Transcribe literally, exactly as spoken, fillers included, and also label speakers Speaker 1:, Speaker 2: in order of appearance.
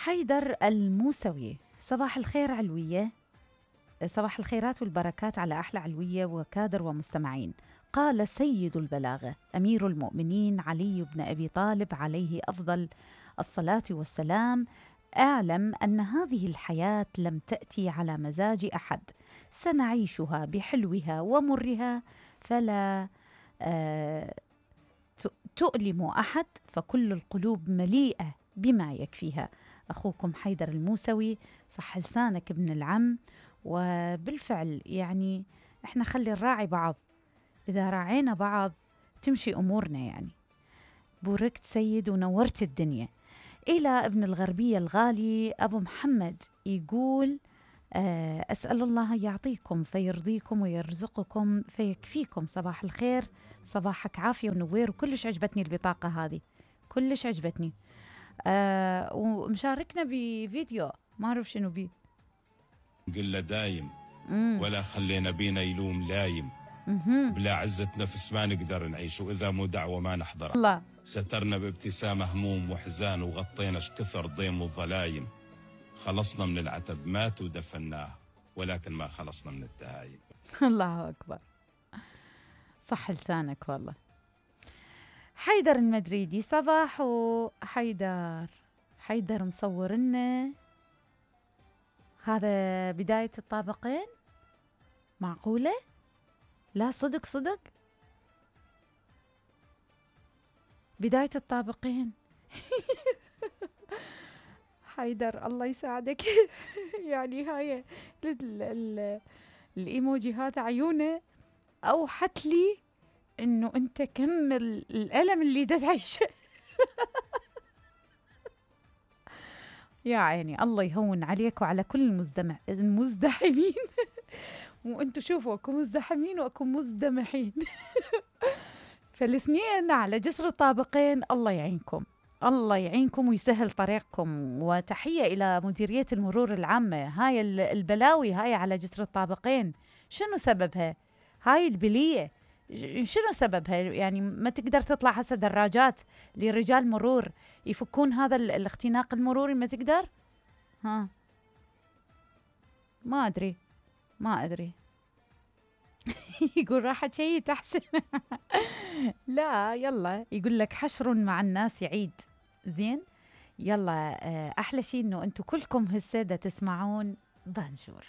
Speaker 1: حيدر الموسوي، صباح الخير علوية، صباح الخيرات والبركات على أحلى علوية وكادر ومستمعين. قال سيد البلاغة أمير المؤمنين علي بن أبي طالب عليه أفضل الصلاة والسلام: أعلم أن هذه الحياة لم تأتي على مزاج أحد، سنعيشها بحلوها ومرها، فلا آه تؤلم أحد، فكل القلوب مليئة بما يكفيها. أخوكم حيدر الموسوي، صح لسانك ابن العم. وبالفعل يعني إحنا خلي نراعي بعض، إذا راعينا بعض تمشي أمورنا. يعني بوركت سيد ونورت الدنيا. إلى ابن الغربية الغالي أبو محمد يقول: أسأل الله يعطيكم فيرضيكم ويرزقكم فيكفيكم. صباح الخير، صباحك عافية ونوير. وكلش عجبتني البطاقة هذه، كلش عجبتني. آه ومشاركنا بفيديو ما أعرف شنو بيه.
Speaker 2: قل له دايم مم. ولا خلينا بينا يلوم لايم. مم. بلا عزة نفس ما نقدر نعيش، وإذا مو دعوة ما نحضر. الله. سترنا بابتسامة هموم وحزان، وغطينا شكثر ضيم وظلايم. خلصنا من العتب مات ودفناه، ولكن ما خلصنا من التهايم.
Speaker 1: الله أكبر، صح لسانك والله. حيدر المدريدي، صباح حيدر. حيدر مصور لنا هذا بداية الطابقين، معقولة؟ لا صدق صدق بداية الطابقين. حيدر الله يساعدك. يعني هاي الإيموجي هذا عيونه أوحت لي إنه أنت كم الألم اللي دا تعيشه. يا عيني، الله يهون عليك وعلى كل المزدمع المزدحمين. وأنتوا شوفوا، أكو مزدحمين وأكو مزدمحين. فالاثنين على جسر الطابقين. الله يعينكم، الله يعينكم ويسهل طريقكم. وتحية إلى مديرية المرور العامة. هاي البلاوي هاي على جسر الطابقين شنو سببها؟ هاي البلية شنو سببها؟ يعني ما تقدر تطلع هسه دراجات لرجال مرور يفكون هذا الاختناق المروري؟ ما تقدر؟ ها ما أدري ما أدري. يقول راحت شيء تحسن. لا يلا، يقول لك حشر مع الناس يعيد. زين يلا، أحلى شيء إنه أنتم كلكم هالسادة تسمعون بانجور.